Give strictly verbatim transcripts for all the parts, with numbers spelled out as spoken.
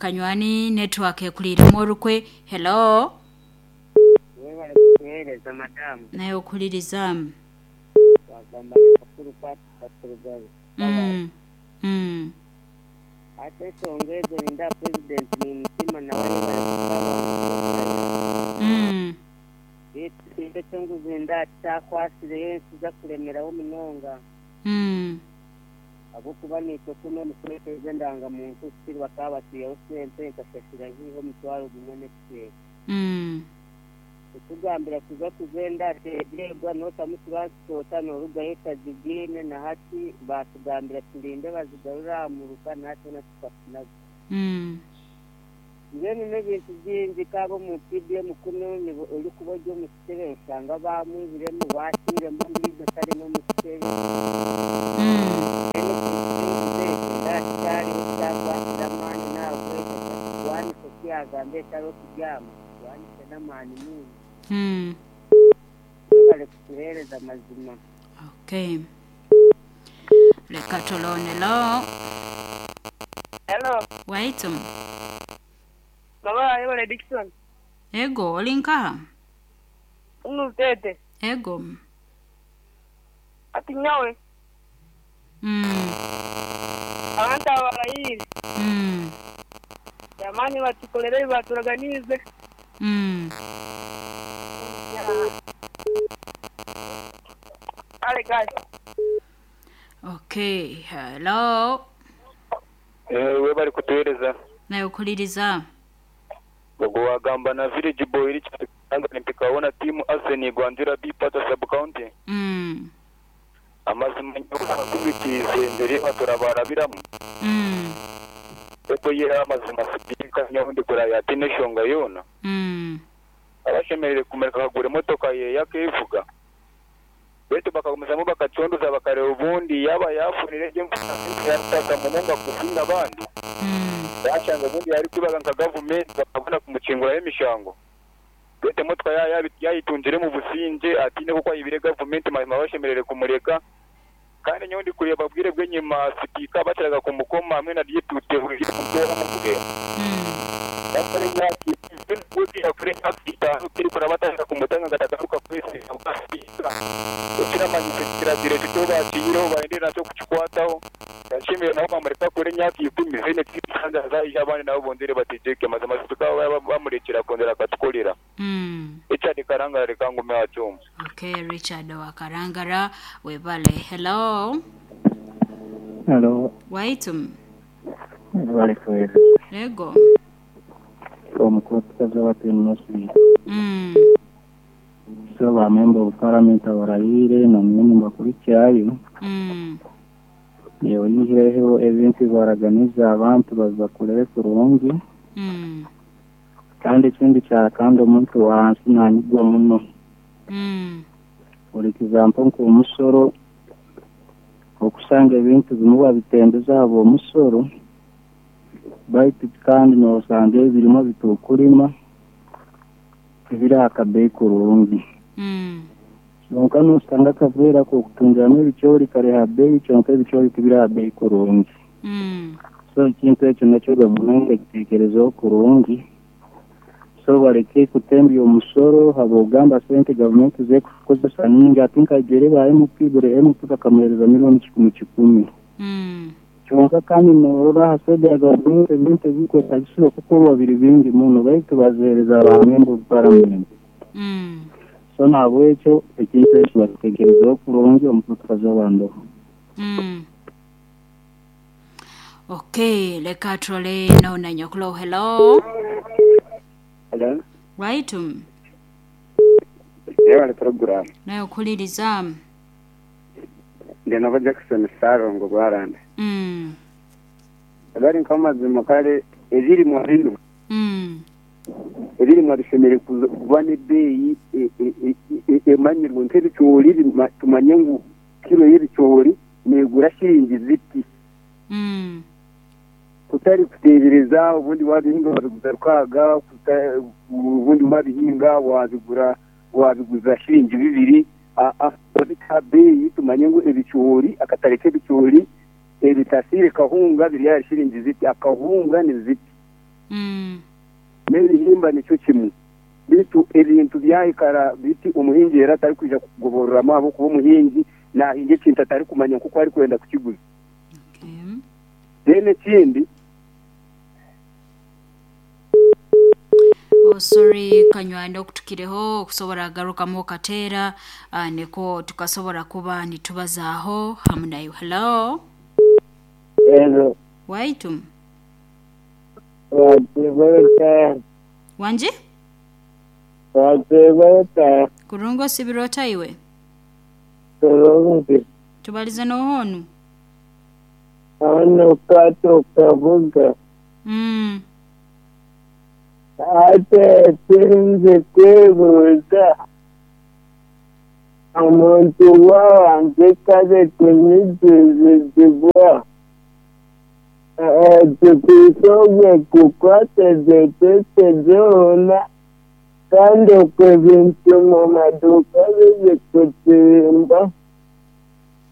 Kanywani network ekuliremu orukwe. Hello. Webale kutuheereza madamu. Naye okuliriza. Wagamba bakuru kwaturugabe. Mm. Mm. Ate ensonga ezo ninda president ni mutima nawe yebale kukaba. Mm. Ekintu eky'enguzi nda kyakwasireyo ensi zakulemeraho munonga. Mm. Ahabw'okuba naitwe kuno omukweteza endangamuntu kiri bakaba batiireho sente nkasasira hiiho omutwaro gumwe n'ekicweka. Mm. Kutugambira kuza kugenda ateegyegwa n'otamu turansipota n'orugayo etazigiine na hati batugambira turinde bazigarure aha muruka natwe natukafunaga. Mm. Mbwenu n'ebintu bingi kaba omu P D M kuno orikuba ori omu kitebe osanga bamwibiremu bakiiremu ondiijo tari n'omu kitebe. Mm. Kyariho kyakwatira amaani nahabwekyo kirwanise kiyagamba etariho kubyama kirwanise n'amaani mingi. Mm. Webale kutuheereza amazima. Okay. Leka tulonelo. Hello. Waitu. Baba yebale Dickson. Ego oli nkaha? Unutete. Ego. Ati nyawe. Mm. Abantu abarayiri. Mm. Jamani batukolere baturaganize. Mm. Ale guys. Okay, hello. Eh, webali kutuhereza. Naye okuliriza. Ogwo wagamba na village boy Richard Kanga mpikaona timu Arsenal Gwandira B Pata sub county. Mm. Amazima nyakubitize ndere baturabarabiramu. Mm. Eto yera amazima sipika nyahundi kuraya tine shonga yona. Mm. Abashemerere kumereka kagura emotoka ye yakevuga. Betu bakagumizamu bakacondoza bakareba ubundi yaba yafunire gye yataka munonga kusinga abandi. Mm. Yashanga ubundi yari kwibaga nka gavumenti bakabona kumucinguraho emishango. Betu emotoka yayitungire mu businge atine kuko ayibire gavumenti mazima bashemerere kumureka. Kandi nyondi kureba bwire bw'enyima sipika bateraga kumukoma hamwe na deputy kutora mukuge. Mm. Bakore nyaki kumutanga gatagaruka kwese akasipika. Ekiramanyise kirazire kito baende nakyo kukikwataho. Yashimire nabo bamureka kure nyaki ikumi zine kisanga zaija abandi nabo bondere batejeke mazima sipika bamurekera kondera akatukolera. Mm. Richard Karangara reka ngume acyumva. Okay, Richard wa Karangara webale. Hello. Hello. Waitum. Webale kwera. Ego. Omukozi wa Tenosi. Mm. So ba member of parliament abarayire na mwe bakurikirayo. Mm. Yewe yihireho ebintu baraganiza abantu bazakurere kurungi. Mm. Kandi ikindi cya kandi omuntu wansi nanyigwa muno. Mm. Buri kizampo nk'omusoro okusanga ebintu bimwe babitembeza abo omusoro baitu kandi nosanga ebirimo bitukurima tibiri akabeyi kurungi. Mm. Kyonka nosanga akaveera k'okutungiramu ebicoori kare ha beyi kyonka ebicoori tibiri ha beyi kurungi. Mm. So ekintu ekyo nakyo gavumenti ekiteekerezeho kurungi. So bareke kutembya omusoro habwogamba sente gavumenti zekukozesa nyingi ati nkagere ba M P buri M P bakamuhereza miliyoni kikumi kikumi. Mm. Kyonka kandi norora aha sede ya gavumenti ebintu ebikwetagisibwa kukorwa biri bingi muno baitu bazihereza ba member of parliament. Mm. So nahabwekyo ekintu ekyo bakiteekerezeho kurungi omutukazi w'abantu. Mm. Okay, leka trole naona nyokulo. Hello. Hello. Waitum. Yebale program. Naye okuliriza. Ndi nabo Jackson Sarongo Gwaranda. Mm. Bari nk'amazima kare ebirimwa bino. Mm. Ebirimwa bishemere kuba n'ebbeeyi emanyirwe nk'ebicoori tumanye ngu kiro y'ebicoori negura shiringi ziti. Mm. Kutari kuteebereza ubundi wabihinga wabiguza rukaaga, ubundi wabihinga wabigura wabiguza shiringi bibiri. Beeyi tumanye ngu ebicoori akatare k'ebicoori ebitasire kahunga biri ahari shiringi ziti, akahunga ni ziti. Mm. N'ebihimba nikyo kimwe. Bitu ebintu byahikara biti omuhingi era atari kwija kugoboreramu ahabw'okuba omuhingi nahinga ekintu atari kumanya nk'oku ari kwenda kukiguza. Okay. Then ekindi Oh, sorry kanywanda okutukireho okusobola agarukamu okateera uh, niko tukasobola kuba nitubazaaho hamu nayo. Hello. Hello. Waitu. Watibota. Wanje? Watibota. Kurungo sibirota iwe. Kurungi. Tubalize nohonu. Ano kato kabuga. Mm. Ate sinzi kwebuuza omuntu wawange kale kunyigizibwa tukusobwe kukwata zetete zoona kandi okwo ebintu mu maduuka bizikutimba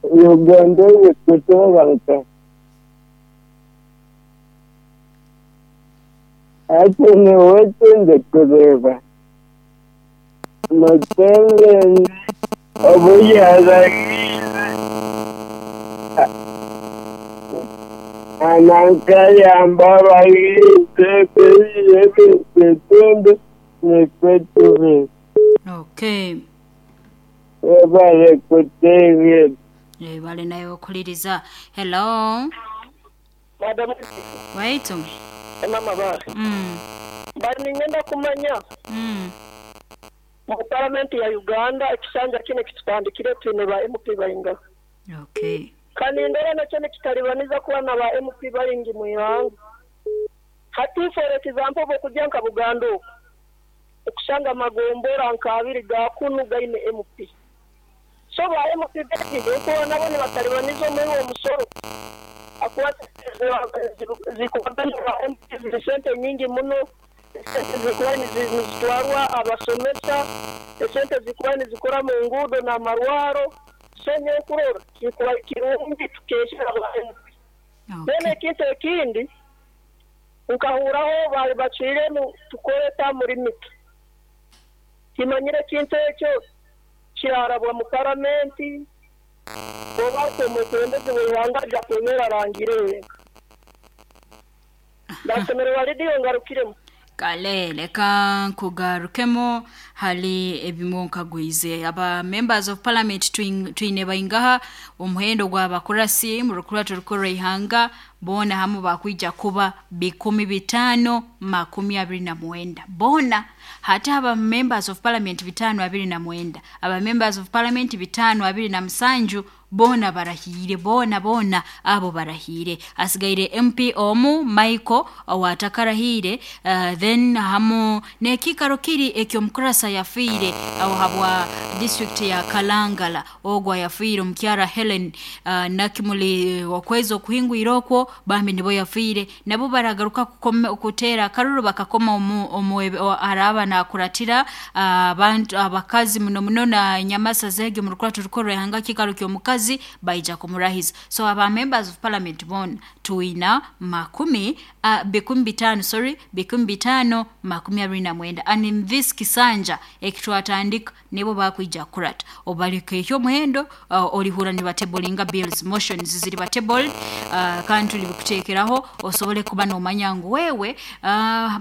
Uganda ezikutobanka. Ate niwe kindi kureeba Museveni obu yaragiire anankayamba abahinzi ebintu nikwe tubi. Okay. Webale kutegeera. Webale naye okuliriza. Hello. Madam. Waitu. Mama ba. Mm. Bali ngenda kumanya. Mm. Mu parliament ya Uganda ekisanja kine kitutandikire twine ba M P bayinga. Okay. Kandi ndera nakyo nikitalibaniza kuba na ba M P bayingi mu ihanga. Hati for example bokujya nka Buganda oku. Okusanga magombora nka abiri ga kunu gaine M P. So ba M P bayingi uko nabo ni batalibaniza muri uwo musoro. Akuwa zikubagana ba M P ziri sente nyingi muno, sente zikuba nizitwarwa abasomesa, sente zikuba nizikora mu ngudo na marwaro, so nyokurora kikuba kirungi tukesha aba M P. Then ekintu ekindi nkahuraho bari baciremu tukoreta muri mito. Kimanyire ekintu ekyo kirarabwa mu paramenti oba omukulembeze w'ihanga ajja kwemera arangire. Ndasemererwa rediyo ngarukiremu. Kale leka nkugarukemo hali ebimu nkagwize aba members of parliament twine baingaha omuhendo gw'abakurasi mu rukurato rukuru ihanga bona hamu bakwija kuba bikumi bitano makumi abiri na mwenda bona hata aba members of parliament bitano abiri na mwenda aba members of parliament bitano abiri na musanju bona barahire bona bona abo barahire asigaire M P omu Michael awatakarahire uh, then hamu nekikaro kiri ekyo mkurasa yafiire aho habwa district ya Kalangala ogwa yafiire omukyara Helen uh, nakimuli wakwezo kuhingwira okwo bambi nibo yafiire nabo baragaruka kutera akaruru bakakoma omu, omu araba nakuratira abantu uh, abakazi muno muno na nyamasa zege mu rukurato rukuru ihanga kikaro kyo mukazi baija kumurahiza. So aba members of parliament bona tuina makumi uh, bikumi bitano sorry bikumi bitano makumi abiri na mwenda and in this kisanja ekitwatandika nibo bakwija kurata obaleke ekyo muhendo uh, olihura ni batablinga bills motions ziri batable uh, kandi tuli bikutekeraho osobole kuba nomanya ngu wewe uh,